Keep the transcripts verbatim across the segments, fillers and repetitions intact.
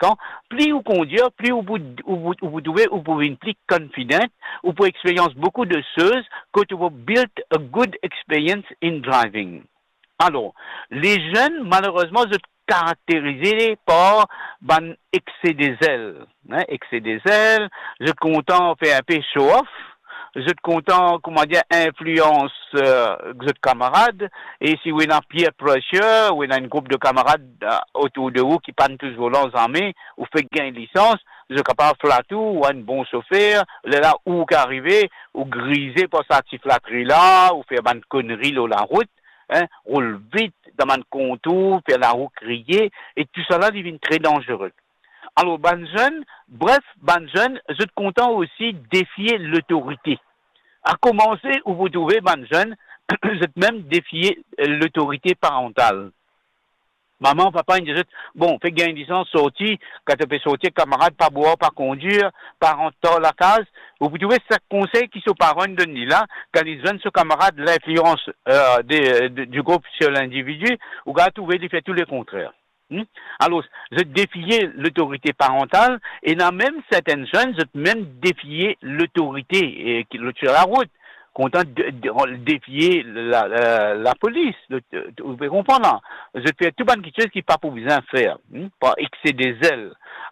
kan, pli ou kondir, pli ou pou, ou pou, ou pou trouve, ou pou vinn pli confident, ou pou experience beaucoup de choses, kot ou pou build a good experience in driving. Alor, lezenn, malerezman, zot karakterize par bann excès de zèl, hein, excès de zèl, zot kontan fer inpe show off, zot kontan, kouma dir, inflians, euh, zot kamarad, e si ou ena peer pressure, ou ena enn group de kamarad, euh, otour de ou ki pa'nn tous volan zame, ou fek gagn lisans, zot kapav flat ou, ou enn bon sofer, lerla ou ki arive, ou grize par sa ti flatri la, ou fer bann konri lor larout, hein, roul vit dan bann kontour, fer larou kriye, e tousala li vinn tre danzere. Alor, bann zenn, bref, bann zenn, zot kontan osi defie lotorite. A komanse, ou pou trouve bann zenn, zot mem defie, eh, lotorite parantal. Mama, papa, inn dir zot, bon, fek gagn lisans, sorti, kan to pe sorti ek kamarad, pa bwar, pa kondir, pa rant tar lakaz. Ou pou trouve sa konsey ki so paran inn donn li la, kan li zwenn so kamarad, linflians, euh, de, de, du group sur lindividi, ou kapav trouve li fer tou lekontrer. Hmm? Alor, zot defie lotorite parantal, ena mem sertenn zenn, zot mem defie lotorite, eh, ki, lot sir larout, kontan de, de, defie la, la, lapolis, lot, ou pe konpran la. Zot fer tou bann kiksoz ki pa pou bizin fer, hmm, par excès de zèl.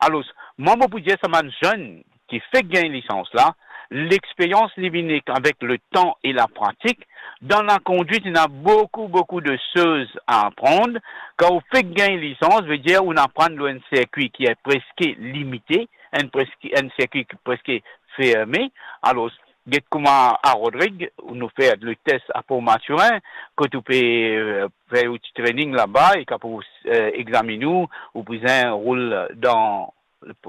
Alor, mwa, mo pou dir sa bann zenn ki fek gagn lisans la, lexperians li vini avek letan e lapratik. Dan lakondwit, ena boukou, boukou de soz a aprann. Kan ou fek gagn lisans, vedir ou aprann lor enn sirkwi ki preske limite, enn preske, enn sirkwi ki preske ferme. Alor, get kouma a Rodrig, nou fer le tes a Port Mathurin, kot ou pe, euh, fer ou ti training laba, e kan pou, euh, examinn ou, ou bizin roul dan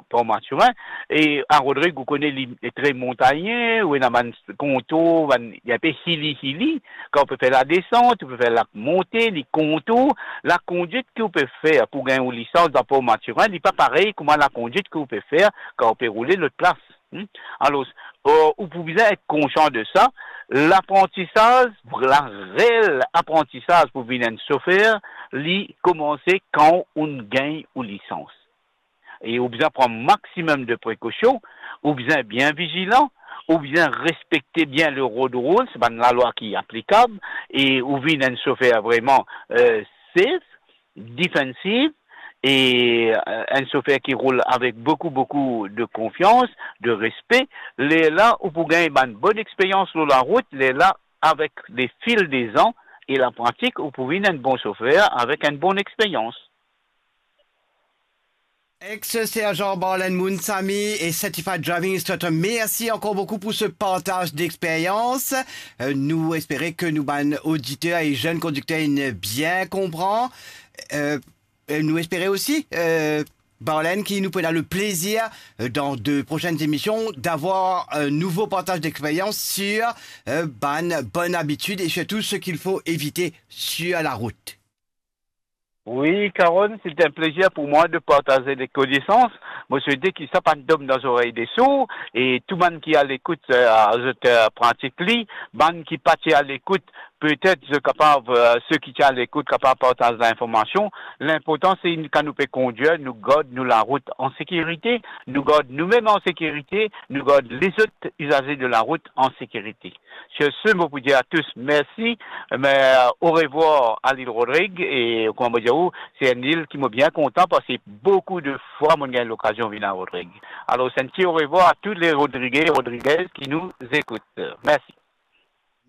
Port Mathurin. E a Rodrig, ou kone, li tre montagne, ou ena bann kontour, bann, li inpe hilly, hilly. Kan ou pe fer ladesant, ou pe fer lamonte, li kontour, lakondwit ki ou pe fer pou gagn ou lisans dan Port Mathurin, li pa parey kouma lakondwit ki ou pe fer kan ou pe roule lot plas. Hmm? Alor, euh, ou pou bizin et konsian de sa. Laprantisaz, lareel aprantisaz pou vinn enn sofer, li komanse kan ou gagn ou lisans. E ou bizin pran maximum de prekosion, ou bizin bien vizilan, ou bizin respekte bien le road rules, bann lalwa ki aplikab, e ou vinn enn sofer vreman, euh, safe, defensive, e, euh, enn sofer ki roul avek boukou, boukou de konfians, de respe. Lerla ou pou gagn bann bonn experians lor larout, lerla avek le fil de zan e lapratik, ou pou vinn enn bon sofer avek enn bonn experians. Ex-sergent Barlen Moonsamy et certified driving instructor, merci encore beaucoup pour ce partage d'expérience. Euh, nou espere ke nou bann oditer e zenn kondikter inn bien konpran. Euh, e nou espere osi, euh, Barlen, ki nou pou ena le plezir, euh, dans de prochaines émissions, d'avoir un nouveau partage d'expérience sur, euh, bann bonn abitid et surtout ce qu'il faut éviter sur la route. Oui, Carole, c'est un plaisir pour moi de partager des connaissances. Mo swete ki sa pa tom dan zorey de sour, e tou bann ki a lekout, euh, zot, euh, pratik li, bann ki pa ti a lekout, petet zot kapav, euh, seki ti a lekout kapav partaz linformasion. Linportan, se kan nou pe kondir, nou gard nou larout an sekirite, nou gard noumem an sekirite, nou gard lezot izaze de larout an sekirite. Sur ce, mo pou dir a tous mersi, me, euh, orevwar a lil Rodrig, e kouma mo dir ou, se enn lil ki mo bien kontan, parski boukou de fwa mo gagn lokazion vinn a Rodrig. Alor, se enn ti orevwar a tou le Rodrige, Rodriguez ki nou ekout. Mersi.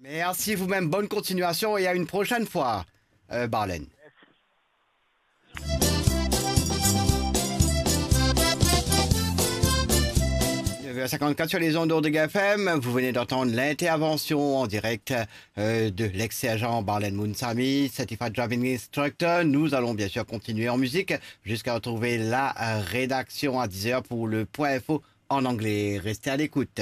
Merci vous-même, bonne continuation et à une prochaine fois, euh, Barlen. Neuf heures cinquante-quatre sur les ondes d'Ordre F M, vous venez d'entendre l'intervention en direct, euh, de l'ex-sergent Barlen Moonsamy, certified driving instructor. Nous allons bien sûr continuer en musique jusqu'à retrouver la, euh, rédaction à dix heures pour le point info en anglais. Restez à l'écoute.